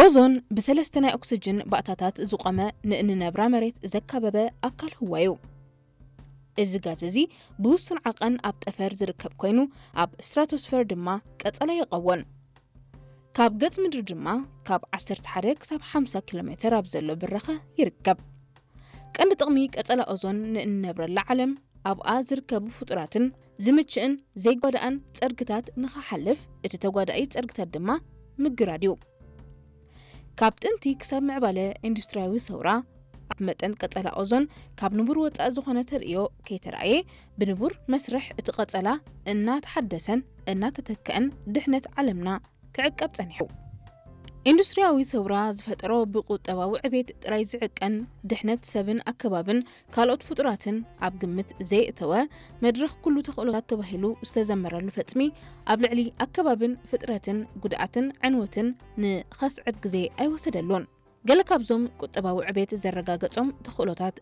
ኦዞን ብሰለስተ ናይ ኦክስጅን ባእታታት ዝቖመ ንእንነብራ መሬት ዘካበበ ኣካል ህዋ እዩ። እዚ ጋዝ እዚ ብውሱን ዓቐን ኣብ ጠፈር ዝርከብ ኮይኑ፣ ኣብ ስትራቶስፈር ድማ ቀጸላ ይቐወን። ካብ ገጽ ምድሪ ድማ ካብ ዓሰርተ ሓደ ክሳብ ሓምሳ ኪሎ ሜተር ኣብ ዘሎ ብራኸ ይርከብ። ቀንዲ ጥቕሚ ቀጸላ ኦዞን ንእንነብረላ ዓለም፣ ኣብኣ ዝርከቡ ፍጡራትን ዝምችእን ዘይጓዳእን ጸርግታት ንኽሓልፍ፣ እቲ ተጓዳኢ ጸርግታት ድማ ምግራድ እዩ። ካብ ጥንቲ ክሳብ ምዕባለ ኢንዱስትሪያዊ ሰውራ፣ ኣብ መጠን ቀጸላ ኦዞን ካብ ንቡር ወጻኢ ዝኾነ ተርእዮ ከይተራእየ፣ ብንቡር መስርሕ እቲ ቀጸላ እናተሓደሰን እናተተክአን ድሕነት ዓለምና ክዕቀብ ጸኒሑ። ኢንዱስትሪያዊ ሰውራ ዝፈጠሮ ብቁጠባዊ ዕቤት ጥራይ ዝዕቀን ድሕነት ሰብን ኣከባብን ካልኦት ፍጡራትን ኣብ ግምት ዘየእተወ፣ መድረኽ ኩሉ ተኽእሎታት ተባሂሉ ዝተዘመረሉ ፈጽሚ ኣብ ልዕሊ ኣከባብን ፍጥረትን ጉድኣትን ዕንወትን ንኸስዕብ ግዜ ኣይወሰደሉን። ገለ ካብዞም ቁጠባዊ ዕቤት ዘረጋገጾም ተኽእሎታት